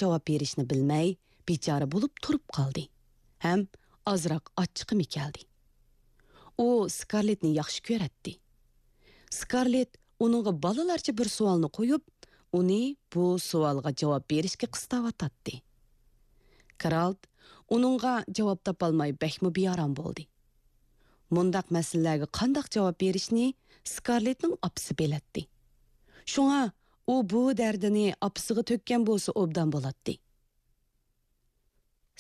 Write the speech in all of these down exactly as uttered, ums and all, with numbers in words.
جاۋاب بېرىشنى بىلمەي، بىچارە بولۇپ تۇرۇپ قالدى ھەم ئازراق ئاچچىقىمۇ كەلدى. ئۇ سكارلېتنى ياخشى كۆرەتتى. سكارلېت ئۇنىڭغا بالىلارچە بىر سوئالنى قويۇپ، ئۇنى بۇ سوئالغا جاۋاب بېرىشكە قىستاۋاتاتتى. گېرالت ئۇنىڭغا جاۋاب تاپالماي بەكمۇ بىئارام بولدى. مۇنداق مەسىلىلەرگە قانداق جاۋاب بېرىشنى سكارلېتنىڭ ئاپىسى بىلەتتى. شۇڭا ئۇ بۇ دەردىنى ئاپىسىغا تۆككەن بولسا ئوبدان بولاتتى.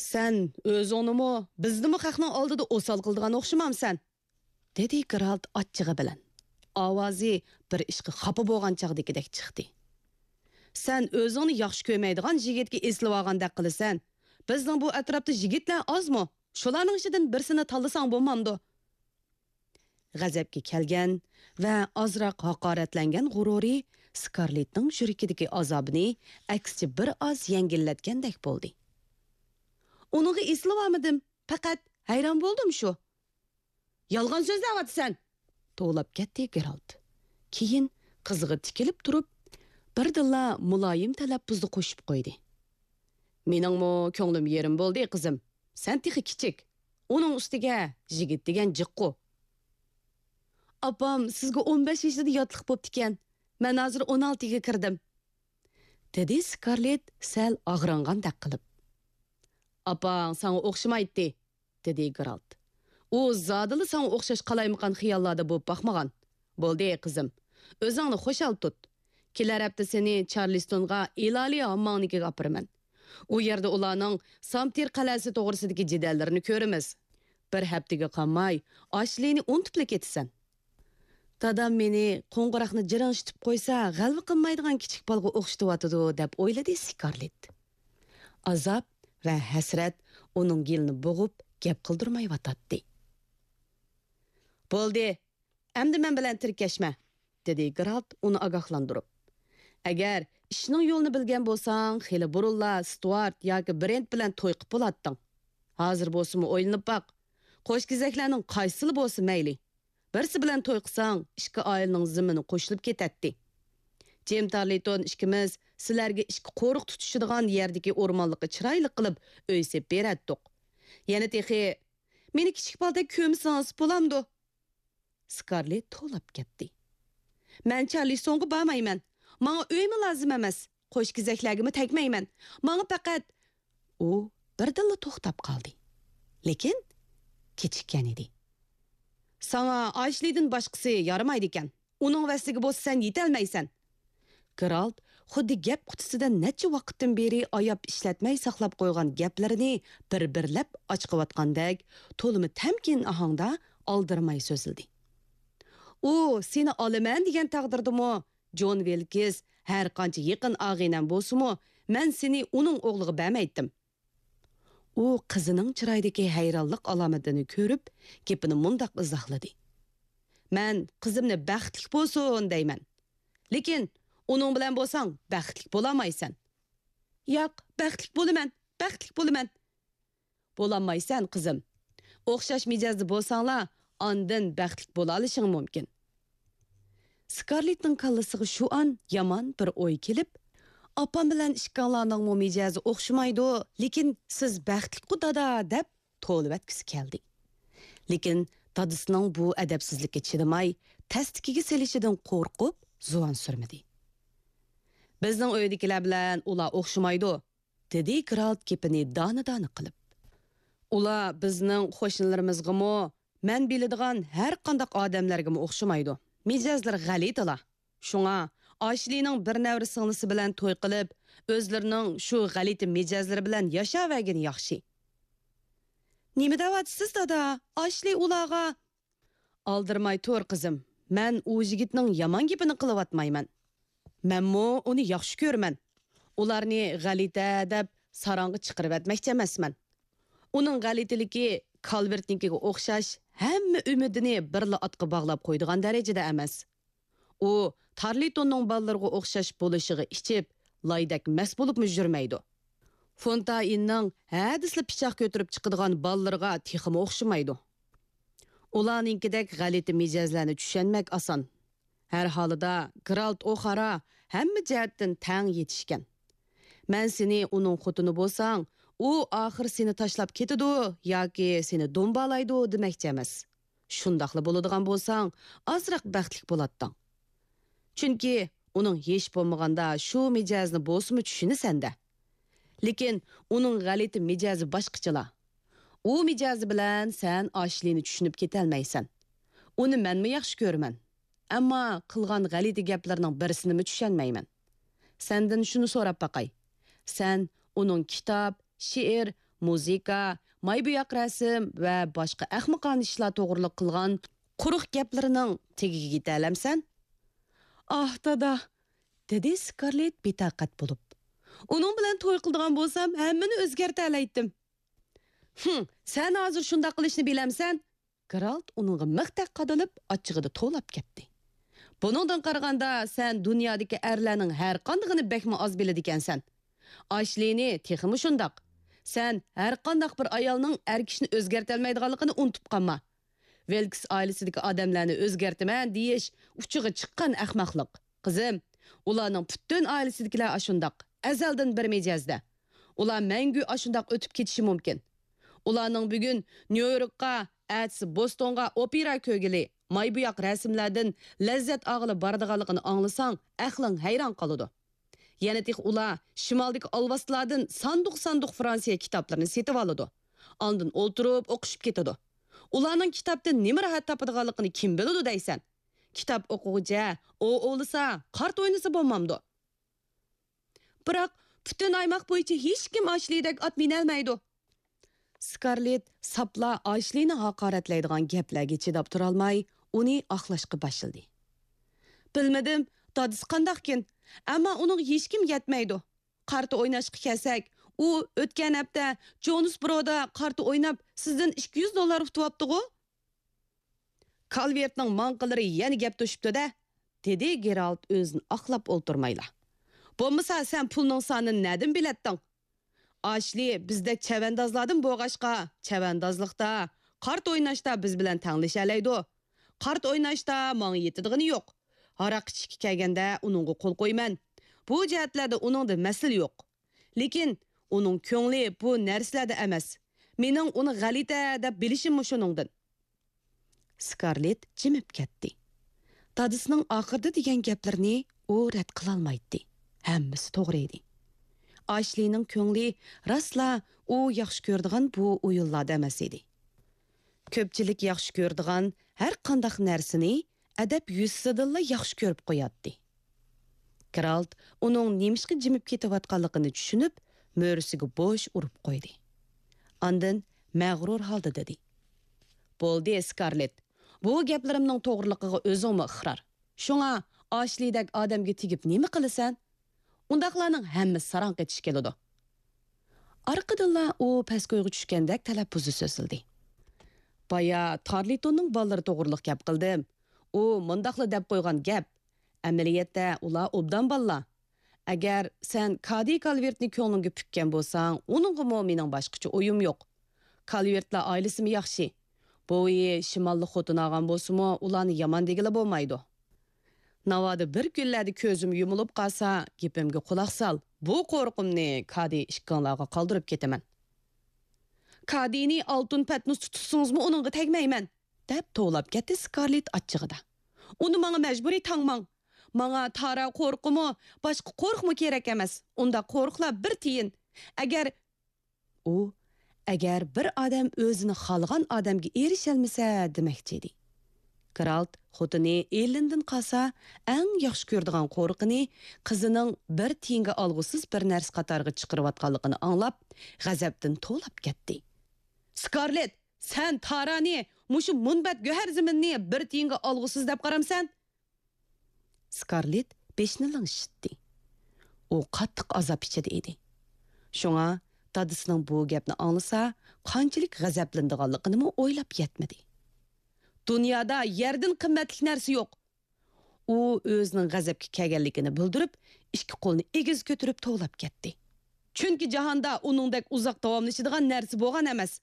«سەن ئۆزۈڭنىمۇ، بىزنىمۇ خەقنىڭ ئالدىدا ئوسال قىلىدىغان ئوخشىمامسەن؟» دېدى گېرالت ئاچچىقى بىلەن. ئاۋازى بىر ئىشقا خاپا بولغان چاغدىكىدەك چىقتى. «سەن ئۆزۈڭنى ياخشى كۆرمەيدىغان يىگىتكە ئېسىلىۋالغاندەك قىلىسەن. بىزنىڭ بۇ ئەتراپتا يىگىتلەر ئازمۇ؟ شۇلارنىڭ ئىچىدىن بىرسىنى تاللىساڭ بولمامدۇ؟» غەزەپكە كەلگەن ۋە ئازراق ھاقارەتلەنگەن غۇرۇرى سكارلېتنىڭ يۈرىكىدىكى ئازابىنى ئەكسىچە بىر ئاز يەڭگىللەتكەندەك بولدى. «ئۇنىڭغا ئېسىلىۋالمىدىم، پەقەت ھەيران بولدۇم شۇ.» «يالغان سۆزلەۋاتىسەن!» توۋلاپ كەتتى گېرالت. كېيىن قىزىغا تىكىلىپ تۇرۇپ، بىردىنلا مۇلايىم تەلەپپۇزدا قوشۇپ قويدى: «مېنىڭمۇ كۆڭلۈم يېرىم بولدى، قىزىم. سەن تېخى كىچىك. ئۇنىڭ ئۈستىگە يىگىت دېگەن جىققۇ.» «ئاپام سىزگە ئون بەش يېشىدا ياتلىق بوپتىكەن. مەن ھازىر ئون ئالتىگە كىردىم.» دېدى سكارلېت سەل ئاغرىنغاندەك قىلىپ. «ئاپاڭ ساڭا ئوخشىمايتتى.» دېدى گېرالت. «ئۇ زادىلا ساڭا ئوخشاش قالايمىقان خىياللاردا بولۇپ باقمىغان. بولدى، قىزىم، ئۆزۈڭنى خۇشال تۇت. كېلەر ھەپتە سېنى چارلىستونغا ئىلاھىي ھامماڭنىڭكىگە ئاپىرىمەن. ئۇ يەردە ئۇلارنىڭ سامتىر قەلئەسى توغرىسىدىكى جېدەللىرىنى كۆرىمىز. بىر ھەپتىگە قالماي ئاشلىنى ئۇنتۇپلا كېتىسەن.» «دادام مېنى قوڭغۇراقنى جىرىڭشىتىپ قويسا، غەلۋە قىلمايدىغان كىچىك بالىغا ئوخشىتىۋاتىدۇ» دەپ ئويلىدى سكارلېت. ئازاب ۋە ھەسرەت ئۇنىڭ گېلىنى بوغۇپ، گەپ قىلدۇرمايۋاتاتتى. «بولدى، ئەمدى مەن بىلەن تىركەشمە»، دېدى گېرالت ئۇنى ئاگاھلاندۇرۇپ. «ئەگەر ئىشنىڭ يولىنى بىلگەن بولساڭ، خېلى بۇرۇنلا ستۇئارت ياكى برېنت بىلەن توي قىپ بولاتتىڭ. ھازىر بولسىمۇ ئويلىنىپ باق. قوشكېزەكلەرنىڭ قايسىلا بولسا مەيلى. بىرسى بىلەن توي قىلساڭ، ئىككى ئائىلىنىڭ زېمىنى قوشۇلۇپ كېتەتتى. جىم تارلىتون ئىككىمىز سىلەرگە ئىككى قورۇق تۇتۇشىدىغان يەردىكى ئورمانلىققا چىرايلىق قىلىپ ئۆي سېلىپ بېرەتتۇق. يەنە تېخى، مېنى كىچىك بالىدەك كۆرمىسىڭىز بولامدۇ؟» سكارلېت توۋلاپ كەتتى. «مەن چارلىستونغا بارمايمەن. ماڭا ئۆيمۇ لازىم ئەمەس. قوشكېزەكلەرگىمۇ تەگمەيمەن. ماڭا پەقەت...» ئۇ بىردىنلا توختاپ قالدى. لېكىن كېچىككەن ئىدى. «ساڭا ئاشلىدىن باشقىسى يارىمايدىكەن. ئۇنىڭ ۋەسلىگە بولسا سەن يېتەلمەيسەن.» گېرالت خۇددى گەپ قۇتىسىدا نەچچە ۋاقىتتىن بېرى ئاياپ ئىشلەتمەي ساقلاپ قويغان گەپلىرىنى بىر-بىرلەپ ئاچىقىۋاتقاندەك، تولىمۇ تەمكىن ئاھاڭدا ئالدىرىماي سۆزلىدى. «ئۇ سېنى ئالىمەن دېگەن تەقدىردىمۇ، جون ۋىلكىس ھەر قانچە يېقىن ئاغىنەم بولسىمۇ، مەن سېنى ئۇنىڭ ئوغلىغا بەرمەيتتىم.» ئۇ قىزىنىڭ چىرايىدىكى ھەيرانلىق ئالامىتىنى كۆرۈپ، گېپىنى مۇنداق ئىزاھلىدى: «مەن قىزىمنى بەختلىك بولسۇن دەيمەن. لېكىن ئۇنىڭ بىلەن بولساڭ بەختلىك بولالمايسەن.» «ياق، بەختلىك بولىمەن، بەختلىك بولىمەن.» «بولالمايسەن، قىزىم. ئوخشاش مىجەزدە بولساڭلار، ئاندىن بەختلىك بولالىشىڭ مۇمكىن.» سكارلېتنىڭ كاللىسىغا شۇ ئان يامان بىر ئوي كېلىپ، «ئاپام بىلەن ئىككىڭلارنىڭمۇ مىجەزى ئوخشىمايدۇ، لېكىن سىز بەختلىكقۇ، دادا» دەپ توۋلىۋەتكۈسى كەلدى. لېكىن دادىسىنىڭ بۇ ئەدەپسىزلىككە چىدىماي، تەستىكىگە سېلىشىدىن قورقۇپ، زۇۋان سۈرمىدى. «بىزنىڭ ئۆيدىكىلەر بىلەن ئۇلار ئوخشىمايدۇ.» دېدى گېرالت گېپىنى دانە-دانە قىلىپ. «ئۇلار بىزنىڭ قوشنىلىرىمىزغىمۇ، مەن بىلىدىغان ھەر قانداق ئادەملەرگىمۇ ئوخشىمايدۇ. مىجەزلىرى غەلىتىلا. شۇڭا ئاشلىنىڭ بىر نەۋرە سىڭلىسى بىلەن توي قىلىپ، ئۆزلىرىنىڭ شۇ غەلىتە مىجەزلىرى بىلەن ياشاۋەرگىنى ياخشى.» «نېمە دەۋاتىسىز، دادا؟ ئاشلى ئۇلارغا...» «ئالدىرىماي تۇر، قىزىم. مەن ئۇ يىگىتنىڭ يامان گېپىنى قىلىۋاتمايمەن. مەنمۇ ئۇنى ياخشى كۆرىمەن. ئۇلارنى غەلىتە دەپ ساراڭغا چىقىرىۋەتمەكچى ئەمەسمەن. ئۇنىڭ غەلىتىلىكى كالۋېرتنىڭكىگە ئوخشاش ھەممە ئۈمىدىنى بىرلا ئاتقا باغلاپ قويىدىغان دەرىجىدە ئەمەس. ئۇ تارلىتوننىڭ بالىلىرىغا ئوخشاش بولۇشىغا ئىچىپ، لايدەك مەست بولۇپمۇ يۈرمەيدۇ. فونتايننىڭ ھەدىسىلا پىچاق كۆتۈرۈپ چىقىدىغان بالىلىرىغا تېخىمۇ ئوخشىمايدۇ. ئۇلارنىڭكىدەك غەلىتە مىجەزلەرنى چۈشەنمەك ئاسان. ھەر ھالىدا، گېرالت ئوخارا ھەممە جەھەتتىن تەڭ يېتىشكەن. مەن سېنى ئۇنىڭ خوتۇنى بولساڭ، ئۇ ئاخىر سېنى تاشلاپ كېتىدۇ ياكى سېنى دومبالايدۇ دېمەكچى ئەمەس. شۇنداقلا بولىدىغان بولساڭ، ئازراق بەختلىك بولاتتىڭ. چۈنكى ئۇنىڭ ھېچ بولمىغاندا شۇ مىجەزنى بولسىمۇ چۈشىنىسەن-دە. لېكىن ئۇنىڭ غەلىتە مىجەزى باشقىچىلا. ئۇ مىجەزى بىلەن سەن ئاشلىنى چۈشىنىپ كېتەلمەيسەن. ئۇنى مەنمۇ ياخشى كۆرىمەن. ئەمما قىلغان غەلىتە گەپلىرىنىڭ بىرسىنىمۇ چۈشەنمەيمەن. سەندىن شۇنى سوراپ باقاي. سەن ئۇنىڭ كىتاب، شېئىر، مۇزىكا، ماي-بوياق رەسىم ۋە باشقا ئەخمىقانە ئىشلار توغرىلىق قىلغان قۇرۇق گەپلىرىنىڭ تېگىگە يېتەلەمسەن؟ ئاھ، دادا، دېدى سكارلېت بىتاقەت بولۇپ. ئۇنىڭ بىلەن توي قىلىدىغان بولسام، ھەممىنى ئۆزگەرتەلەيتتىم. ھىم، سەن ھازىر شۇنداق قىلىشنى بىلەمسەن؟ گېرالت ئۇنىڭغا مىختەك قادىلىپ، ئاچچىقىدا توۋلاپ كەتتى. بۇنىڭدىن قارىغاندا، سەن دۇنيادىكى ئەرلەرنىڭ ھەرقاندىقىنى بەكمۇ ئاز بىلىدىكەنسەن. ئاشلىنى تېخىمۇ شۇنداق. سەن ھەرقانداق بىر ئايالنىڭ ئەر كىشىنى ئۆزگەرتەلمەيدىغانلىقىنى ئۇنتۇپ قالما. ۋىلكس ئائىلىسىدىكى ئادەملەرنى ئۆزگەرتىمەن دېيىش ئۇچىغا چىققان ئەخمەقلىق. قىزىم، ئۇلارنىڭ پۈتۈن ئائىلىسىدىكىلەر ئاشۇنداق، ئەزەلدىن بىر مىجەزدە. ئۇلار مەڭگۈ ئاشۇنداق ئۆتۈپ كېتىشى مۇمكىن. ئۇلارنىڭ بۈگۈن نيۇ يوركقا، ئەتىسى بوستونغا ئوپېرا كۆرگىلى، ماي-بوياق رەسىملەردىن لەززەت ئالغىلى بارىدىغانلىقىنى ئاڭلىساڭ، ئەقلىڭ ھەيران قالىدۇ. يەنە تېخى ئۇلار شىمالدىكى ئالۋاستىلاردىن ساندۇق-ساندۇق فرانسىيە كىتابلىرىنى سېتىۋالىدۇ. ئاندىن ئولتۇرۇپ ئوقۇشۇپ كېتىدۇ. ئۇلارنىڭ كىتابتىن نېمە راھەت تاپىدىغانلىقىنى كىم بىلىدۇ دەيسەن؟ كىتاب ئوقۇغۇچە ئوۋ ئوۋلىسا، قارت ئوينىسا بولمامدۇ؟ بىراق، پۈتۈن ئايماق بويىچە ھېچكىم ئاشلىدەك ئات مىنەلمەيدۇ. سكارلېت ساپلا ئاشلىنى ھاقارەتلەيدىغان گەپلەرگە چىداپ تۇرالماي، ئۇنى ئاقلاشقا باشلىدى. بىلمىدىم، دادىسى قانداقكىن، ئەمما ئۇنىڭغا ھېچكىم يەتمەيدۇ. قارتا ئويناشقا كەلسەك، ئۇ ئۆتكەن ھەپتە جونسبرودا قارتا ئويناپ، سىزدىن ئىككى يۈز دوللار ئۇتۇۋاپتىغۇ؟ كالۋېرتنىڭ ماڭقىلىرى يەنە گەپ توشۇپتۇ-دە، دېدى گېرالت ئۆزىنى ئاقلاپ ئولتۇرمايلا. بولمىسا سەن پۇلنىڭ سانىنى نەدىن بىلەتتىڭ؟ ئاشلى بىزدەك چەۋەندازلاردىن بولغاچقا، چەۋەندازلىقتا، قارت ئويناشتا بىز بىلەن تەڭلىشەلەيدۇ. قارت ئويناشتا ماڭا يېتىدىغىنى يوق. ھاراق ئىچىشكە كەلگەندە ئۇنىڭغا قول قويىمەن. بۇ جەھەتلەردە ئۇنىڭدا مەسىلە يوق. لېكىن ئۇنىڭ كۆڭلى بۇ نەرسىلەردە ئەمەس. مېنىڭ ئۇنى غەلىتە دەپ بىلىشىممۇ شۇنىڭدىن. سكارلېت جىمىپ كەتتى. دادىسىنىڭ ئاخىرىدا دېگەن گەپلىرىنى ئۇ رەت قىلالمايتتى. ھەممىسى توغرا ئىدى. ئاشلىنىڭ كۆڭلى راستلا ئۇ ياخشى كۆرىدىغان بۇ ئويۇنلاردا ئەمەس ئىدى. كۆپچىلىك ياخشى كۆرىدىغان ھەر قانداق نەرسىنى ئەدەپ يۈزىسىدىنلا ياخشى كۆرۈپ قوياتتى. گېرالت ئۇنىڭ نېمىشقا جىمىپ كېتىۋاتقانلىقىنى چۈشىنىپ، مۈرىسىگە بوش ئۇرۇپ قويدى. ئاندىن مەغرۇر ھالدا دېدى: بولدى، سكارلېت، بۇ گەپلىرىمنىڭ توغرىلىقىغا ئۆزۈڭمۇ ئىقرار. شۇڭا ئاشلىدەك ئادەمگە تېگىپ نېمە قىلىسەن؟ ئۇنداقلارنىڭ ھەممىسى ساراڭ قېتىش كېلىدۇ. ئارقىدىنلا ئۇ پەسكويغا چۈشكەندەك تەلەپپۇزى سۆزلىدى. بايا تارلىتوننىڭ بالىلىرى توغرىلىق گەپ قىلدىم. ئۇ مۇنداقلا دەپ قويغان گەپ. ئەمەلىيەتتە ئۇلار ئوبدان بالىلار. ئەگەر سەن كادى كالۋېرتنى كۆڭلۈڭگە پۈككەن بولساڭ، ئۇنىڭغىمۇ مېنىڭ باشقىچە ئويۇم يوق. كالۋېرتلار ئائىلىسىمۇ ياخشى. بوۋىيى شىماللىق خوتۇن ئالغان بولسىمۇ، ئۇلارنى يامان دېگىلى بولمايدۇ. ناۋادا بىر كۈنلەردە كۆزۈم يۇمۇلۇپ قالسا، گېپىمگە قۇلاق سال. بۇ قورقۇمنى كادى ئىككىڭلارغا قالدۇرۇپ كېتىمەن. كادىنى ئالتۇن پەتنۇستى تۇتسىڭىزمۇ ئۇنىڭغا تەگمەيمەن، دەپ توۋلاپ كەتتى سكارلېت ئاچچىقىدا. ئۇنى ماڭا مەجبۇرىي تاڭماڭ. ماڭا تارا قورۇقىمۇ، باشقا قورۇقمۇ كېرەك ئەمەس. ئۇنداق قورۇقلار بىر تىيىن. ئەگەر ئۇ، ئەگەر بىر ئادەم ئۆزىنى خالىغان ئادەمگە ئېرىشەلمىسە دېمەكچى ئىدى. گېرالت خوتۇنى ئېللىندىن قالسا ئەڭ ياخشى كۆرىدىغان قورۇقىنى قىزىنىڭ بىر تىيىنگە ئالغۇسىز بىر نەرسە قاتارىغا چىقىرىۋاتقانلىقىنى ئاڭلاپ، غەزەپتىن توۋلاپ كەتتى. سكارلېت، سەن تارانى، مۇشۇ مۇنبەت گۆھەر زېمىننى بىر تىيىنگە ئالغۇسىز دەپ قارامسەن؟ سكارلېت بېشىنى لىڭشىتتى. ئۇ قاتتىق ئازاب ئىچىدە ئىدى. شۇڭا دادىسىنىڭ بۇ گەپنى ئاڭلىسا، قانچىلىك غەزەپلىنىدىغانلىقىنىمۇ ئويلاپ يەتمىدى. دۇنيادا يەردىن قىممەتلىك نەرسە يوق. ئۇ ئۆزىنىڭ غەزەپكە كەلگەنلىكىنى بىلدۈرۈپ، ئىككى قولىنى ئېگىز كۆتۈرۈپ توۋلاپ كەتتى. چۈنكى جاھاندا ئۇنىڭدەك ئۇزاق داۋاملىشىدىغان نەرسە بولغان ئەمەس.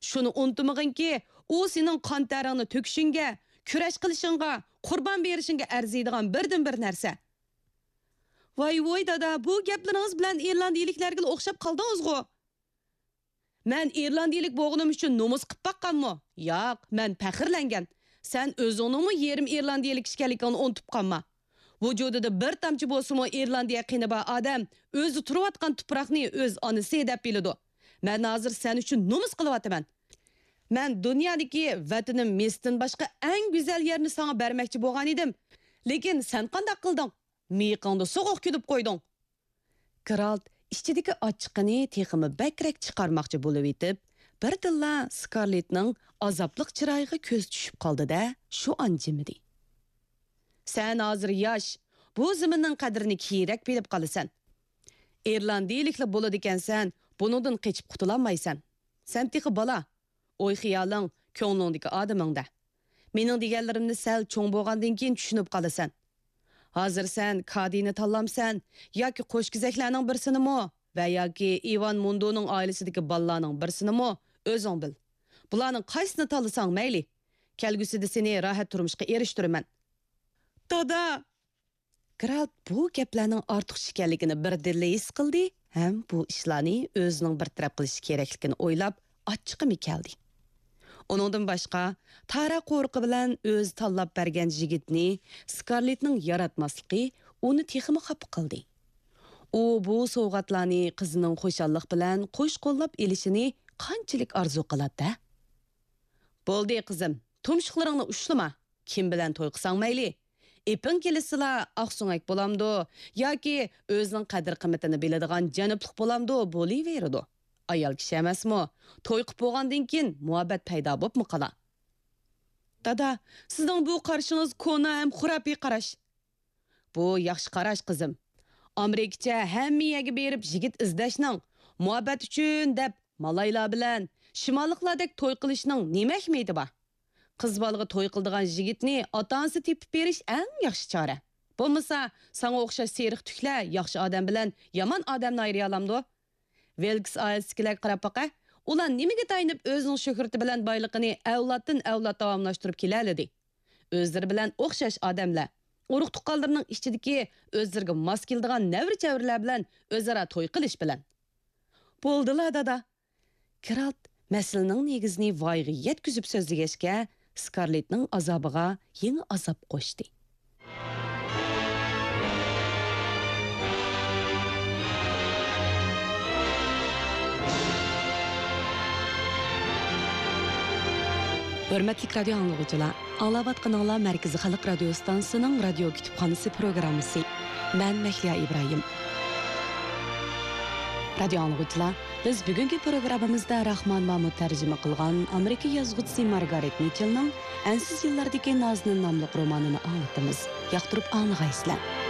شۇنى ئۇنتۇمىغىنكى، ئۇ سېنىڭ قان تەرىڭنى تۆكۈشۈڭگە، كۈرەش قىلىشىڭغا، قۇربان بېرىشىڭگە ئەرزىيدىغان بىردىنبىر نەرسە. ۋاي ۋوي دادا، بۇ گەپلىرىڭىز بىلەن ئىرلاندىيىلىكلەرگىلا ئوخشاپ قالدىڭىزغۇ. مەن ئىرلاندىيىلىك بولغىنىم ئۈچۈن نومۇس قىپ باققانمۇ؟ ياق، مەن پەخىرلەنگەن. سەن ئۆزۈڭنىڭمۇ يېرىم ئىرلاندىيىلىك ئىكەنلىكىڭنى ئۇنتۇپ قالما. ۋۇجۇدىدا بىر تامچە بولسىمۇ ئىرلاندىيە قېنى بار ئادەم ئۆزى تۇرۇۋاتقان تۇپراقنى ئۆز ئانىسى دەپ بىلىدۇ. مەن ھازىر سەن ئۈچۈن نومۇس قىلىۋاتىمەن. مەن دۇنيادىكى ۋەتىنىم مىسىردىن باشقا ئەڭ گۈزەل يەرنى ساڭا بەرمەكچى بولغان ئىدىم. لېكىن سەن قانداق قىلدىڭ؟ مىيىقىڭدا سوغۇق كۈلۈپ قويدۇڭ. گېرالت ئىچىدىكى ئاچچىقىنى تېخىمۇ بەكرەك چىقارماقچى بولۇۋېتىپ، بىردىنلا سكارلېتنىڭ ئازابلىق چىرايىغا كۆزى چۈشۈپ قالدى-دە، شۇ ئان جىمىدى. سەن ھازىر ياش، بۇ زېمىننىڭ قەدرىنى كېيىنرەك بىلىپ قالىسەن. ئىرلاندىيىلىكلا بولىدىكەنسەن، بۇنىڭدىن قېچىپ قۇتۇلالمايسەن. سەن تېخى بالا. ئوي-خىيالىڭ كۆڭلۈڭدىكى ئادىمىڭدە. مېنىڭ دېگەنلىرىمنى سەل چوڭ بولغاندىن كېيىن چۈشىنىپ قالىسەن. ھازىر سەن كادىنى تاللامسەن ياكى قوشكېزەكلەرنىڭ بىرسىنىمۇ ۋە ياكى ئىۋان مۇندونىڭ ئائىلىسىدىكى بالىلارنىڭ بىرسىنىمۇ، ئۆزۈڭ بىل. بۇلارنىڭ قايسىسىنى تاللىساڭ مەيلى. كەلگۈسىدە سېنى راھەت تۇرمۇشقا ئېرىشتۈرىمەن. دادا! گېرالت بۇ گەپلەرنىڭ ئارتۇقچە ئىكەنلىكىنى بىردىنلا ھېس قىلدى ھەم بۇ ئىشلارنى ئۆزىنىڭ بىر تەرەپ قىلىشى كېرەكلىكىنى ئويلاپ، ئاچچىقىمۇ كەلدى. ئۇنىڭدىن باشقا، تارا قورۇقى بىلەن ئۆزى تاللاپ بەرگەن يىگىتنى سكارلېتنىڭ ياراتماسلىقى ئۇنى تېخىمۇ خاپا قىلدى. ئۇ بۇ سوۋغاتلارنى قىزىنىڭ خۇشاللىق بىلەن قوش قوللاپ ئېلىشىنى قانچىلىك ئارزۇ قىلاتتى؟ بولدى، قىزىم، تۇمشۇقلىرىڭنى ئۇشلىما. كىم بىلەن توي قىلساڭ مەيلى. ئېپىڭ كېلىشسىلا، ئاقسۆڭەك بولامدۇ ياكى ئۆزىنىڭ قەدىر-قىممىتىنى بىلىدىغان جەنۇپلۇق بولامدۇ، بولۇۋېرىدۇ. ئايال كىشى ئەمەسمۇ؟ توي قىپ بولغاندىن كېيىن مۇھەببەت پەيدا بوپمۇ قالا. دادا، سىزنىڭ بۇ قارىشىڭىز كونا ھەم خۇراپىي قاراش. بۇ ياخشى قاراش، قىزىم. ئامېرىكىچە ھەممە يەرگە بېرىپ يىگىت ئىزدەشنىڭ، مۇھەببەت ئۈچۈن دەپ مالايلار بىلەن شىماللىقلاردەك توي قىلىشنىڭ نېمە ئەھمىيىتى بار؟ قىز بالىغا توي قىلىدىغان يىگىتنى ئاتا-ئانىسى تېپىپ بېرىش ئەڭ ياخشى چارە. بولمىسا، ساڭا ئوخشاش سېرىق تۈكلەر ياخشى ئادەم بىلەن يامان ئادەمنى ئايرىيالامدۇ؟ ۋىلكس ئائىلىسىدىكىلەرگە قاراپ باقە. ئۇلار نېمىگە تايىنىپ ئۆزىنىڭ شۆھرىتى بىلەن بايلىقىنى ئەۋلادتىن ئەۋلاد داۋاملاشتۇرۇپ كېلەلىدى؟ ئۆزلىرى بىلەن ئوخشاش ئادەملەر، ئۇرۇق-تۇغقانلىرىنىڭ ئىچىدىكى ئۆزلىرىگە ماس كېلىدىغان نەۋرە-چەۋرىلەر بىلەن ئۆزئارا توي قىلىش بىلەن. بولدىلا، دادا. گېرالت مەسىلىنىڭ نېگىزىنى ۋايىغا يەتكۈزۈپ سۆزلىگەچكە، سكارلېتنىڭ ئازابىغا يېڭى ئازاب قوشتى. ھۆرمەتلىك رادىيو ئاڭلىغۇچىلار، ئاڭلاۋاتقىنىڭلار مەركىزىي خەلق رادىيو ئىستانسىسىنىڭ رادىيو كۇتۇپخانىسى پروگراممىسى. مەن مەھلىيا ئىبراھىم. رادىيو ئاڭلىغۇچىلار، بىز بۈگۈنكى پروگراممىمىزدا راخمان مامۇت تەرجىمە قىلغان ئامېرىكا يازغۇچىسى مارگارېت مىچېلنىڭ ئەنسىز يىللاردىكى نازنىن ناملىق رومانىنى ئاڭلىتىمىز. ياقتۇرۇپ ئاڭلىغايسىلەر.